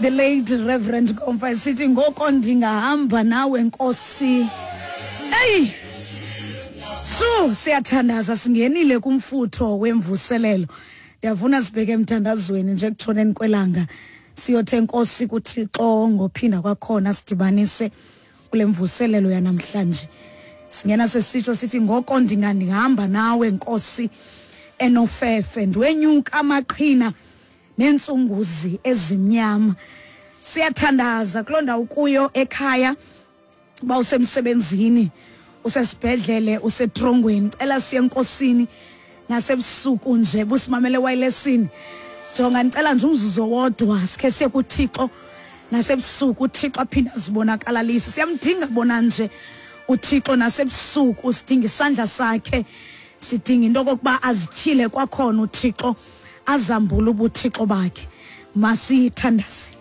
The late Reverend Komfa esithi ngoko ndingahamba nawe Nkosi. Eyi! Shu siyathandaza singenile kumfutho wemvuselelo. Ndiyavuna sibheke emthandazweni nje ekutshoneni kwelanga. Siyothe Nkosi kuThixo ngophinda kwakhona sidibanise kule mvuselelo yanamhlanje. Singena sesitsho sithi ngoko ndingandihamba nawe Nkosi enofefe ndiwenyuka amaqhina neentsunguzi ezimnyama. Siyathandaza kuloo ndawo kuyo ekhaya uba usemsebenzini usesibhedlele usetrongweni cela siye enkosini nasebusuku nje busimamele wayilesini jonga ndicela nje umzuzu owodwa sikhe siye kuthixo nasebusuku uthixo aphinde azibonakalalise siyamdinga bona nje uthixo nasebusuku sidinga isandla sakhe sidinga into okokuba azityhile kwakhona uthixo azambule ubuthixo bakhe masithandaze.